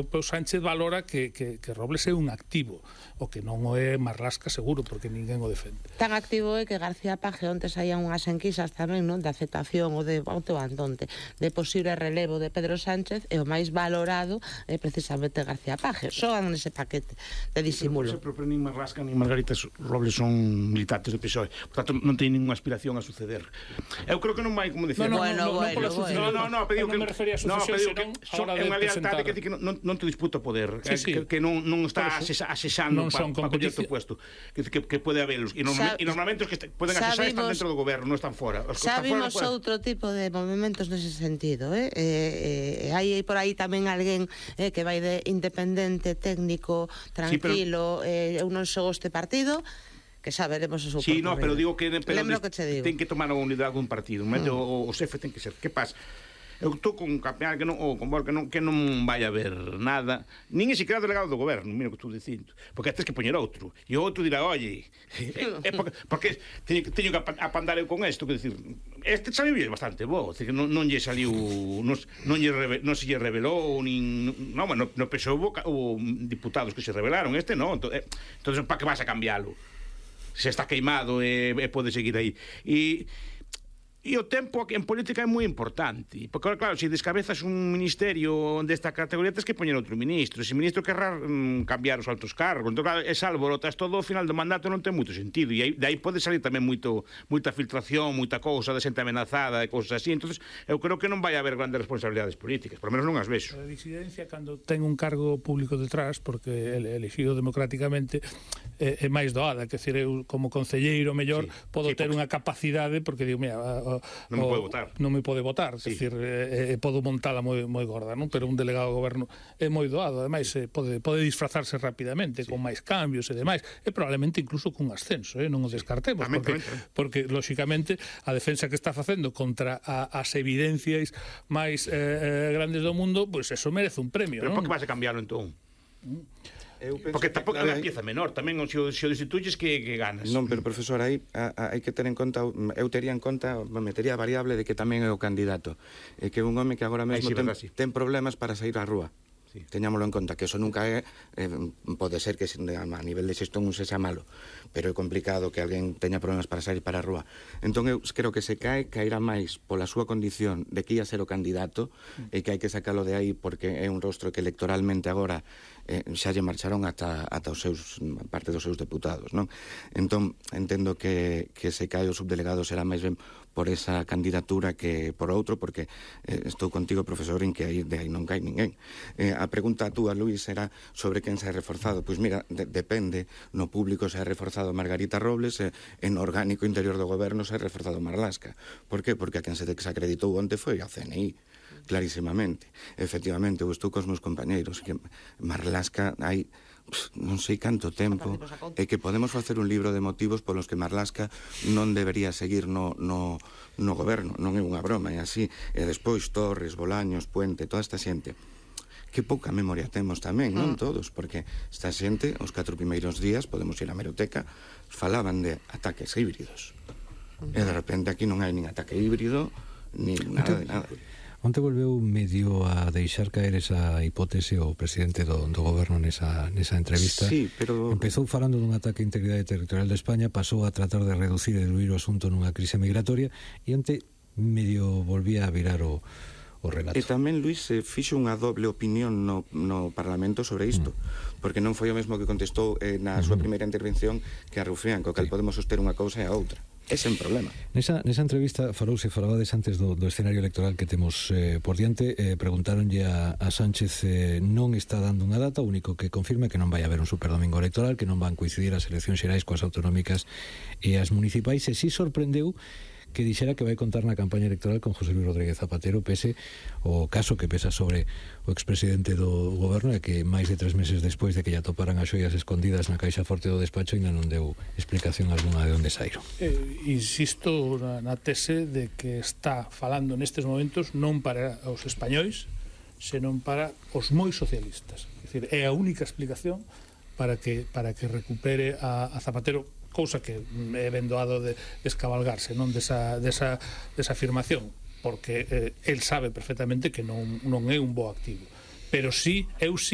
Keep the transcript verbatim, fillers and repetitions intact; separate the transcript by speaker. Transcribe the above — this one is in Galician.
Speaker 1: O Sánchez valora que, que, que Robles é un activo, o que non o é Marlaska seguro, porque ninguén o defende.
Speaker 2: Tan activo é que García Paje onte saían unhas enquisas tamén, non, de aceptación ou de auto andonte, de posible relevo de Pedro Sánchez, e o máis valorado é precisamente García Paje. Soan nese paquete de disimulo.
Speaker 3: Pero, pero, pero nin Marlaska nin Margarita Robles son militantes do P S O E, por tanto non teñen ninguna aspiración a suceder. Eu creo que non vai, como decía,
Speaker 1: no, no,
Speaker 2: bueno,
Speaker 1: no, no,
Speaker 2: bueno,
Speaker 1: no,
Speaker 2: bueno.
Speaker 1: no, no,
Speaker 3: pediu
Speaker 1: non me refería a sucesión, senón a hora de presentar.
Speaker 3: Que, que non, non te disputa o poder,
Speaker 1: sí, sí.
Speaker 3: que, que non, non está asesando para pa coller o puesto, que, que, que pode habelos, e, norma, e normalmente os que est poden asesar están dentro do goberno, non están fora. Os que
Speaker 2: xa
Speaker 3: están
Speaker 2: vimos
Speaker 3: fora,
Speaker 2: outro tipo de movimentos nese sentido, eh? Eh, eh, hai por aí tamén alguén eh, que vai de independente, técnico, tranquilo, sí, pero... eh, eu non xogo este partido, que xa veremos o seu
Speaker 3: sí, no, pero digo que, pero
Speaker 2: lembro que che digo,
Speaker 3: ten que tomar a unidade dun partido, mm. o, o xefe ten que ser, que pasa? Eu estou con un campeón que non, ou con Bor que non, que non vai haber nada, nin é siquiera delegado do goberno, mira o que estou dicindo, porque tens que poñer outro, e o outro dirá, oye, é, é porque, porque teño, teño que apandar eu con isto, que decir, este saliu bastante bo, que non, non lle saliu, non, non, lle reve, non se lle revelou, nin, non, no, no P S O E houve diputados que se revelaron, este non, entón, entón para que vas a cambialo? Se está queimado e, e pode seguir aí. E E o tempo en política é moi importante, porque, claro, se descabezas un ministerio desta categoría, tens que poñer outro ministro. Se o ministro querrá mm, cambiar os altos cargos, entón, claro, esa alborotas todo, ao final do mandato non ten moito sentido, e aí, de aí pode salir tamén moito, moita filtración, moita cousa de xente amenazada, e cousas así. Entón, eu creo que non vai haber grandes responsabilidades políticas, por lo menos non as vexo.
Speaker 1: A disidencia, cando ten un cargo público detrás, porque é elegido democráticamente, é, é máis doada, que decir, eu como concelleiro mellor sí, podo sí, ter porque... unha capacidade, porque digo, mira,
Speaker 3: non me pode votar.
Speaker 1: Non me pode votar, sí. Decir, eh, eh, podo montala moi, moi gorda, non? Pero un delegado do goberno é moi doado, ademais eh, pode, pode disfrazarse rapidamente, sí, con máis cambios e demais, e probablemente incluso cun ascenso, eh? Non o descartemos, sí, porque, porque, lóxicamente, a defensa que está facendo contra a, as evidencias máis eh, grandes do mundo, pois pues eso merece un premio,
Speaker 3: pero
Speaker 1: non?
Speaker 3: Pero por que vas a cambiarlo, entón?
Speaker 1: Mm.
Speaker 3: Eu porque tampouco é unha pieza menor, tamén se o, se o destituyes que, que ganas.
Speaker 4: Non, pero profesor, aí hai que ter en conta, eu tería en conta, metería a variable de que tamén é o candidato, e que un home que agora mesmo sí, ten, verdad, sí. ten problemas para sair á rúa. Sí. Teñámoslo en conta, que eso nunca é, eh, pode ser que a nivel de xestión un se xa malo, pero é complicado que alguén teña problemas para sair para a rúa. Entón eu creo que se cae, caerá máis pola súa condición de que ia ser o candidato, mm. e que hai que sacalo de aí porque é un rostro que electoralmente agora eh, xa lle marcharon ata, ata os seus, parte dos seus deputados, non? Entón entendo que, que se cae o subdelegado será máis ben por esa candidatura que por outro, porque eh, estou contigo, profesor, en que aí, de aí non cae ninguén. Eh, a pregunta a túa, Luís, era sobre quen se ha reforzado. Pois mira, de, depende, no público se ha reforzado Margarita Robles, e en orgánico interior do goberno se ha reforzado Marlaska. Por que? Porque a quen se desacreditou onte foi a C N I, clarísimamente. Efectivamente, eu estou cos meus compañeiros, que Marlaska hai non sei canto tempo, e que podemos facer un libro de motivos polos que Marlaska non debería seguir no, no, no goberno, non é unha broma, é así. E despois Torres, Bolaños, Puente, toda esta xente, que pouca memoria temos tamén, non todos, porque esta xente, os catro primeiros días, podemos ir á hemeroteca, falaban de ataques híbridos, e de repente aquí non hai nin ataque híbrido, nin nada de nada.
Speaker 5: Onte volveu medio a deixar caer esa hipótese o presidente do, do goberno nesa, nesa entrevista.
Speaker 4: Sí, pero...
Speaker 5: Empezou falando dun ataque á integridade territorial de España, pasou a tratar de reducir e diluir o asunto nunha crise migratoria, e onte medio volvía a virar o, o relato.
Speaker 4: E tamén, Luís, se fixo unha doble opinión no, no Parlamento sobre isto, mm. porque non foi o mesmo que contestou eh, na súa mm. primeira intervención que a Rufián, co cal sí. podemos soster unha cousa e a outra. Ese é un problema.
Speaker 5: Nesa, nesa entrevista falouse, falabades antes do, do escenario electoral que temos eh, por diante, eh, preguntaronlle a, a Sánchez, eh, non está dando unha data, o único que confirma que non vai haber un superdomingo electoral, que non van coincidir as eleccións xerais coas autonómicas e as municipais, e si sorprendeu que dixera que vai contar na campaña electoral con José Luis Rodríguez Zapatero, pese o caso que pesa sobre o expresidente do goberno, e que máis de tres meses despois de que ya toparan as xoias escondidas na caixa forte do despacho ainda non deu explicación alguna de onde saíron.
Speaker 1: Eh, insisto na, na tese de que está falando nestes momentos non para os españois, senón para os moi socialistas. É dicir, é a única explicación para que, para que recupere a, a Zapatero, cousa que é ben doado de descabalgarse, non desa, desa, desa afirmación, porque eh, el sabe perfectamente que non, non é un bo activo, pero sí, eu sí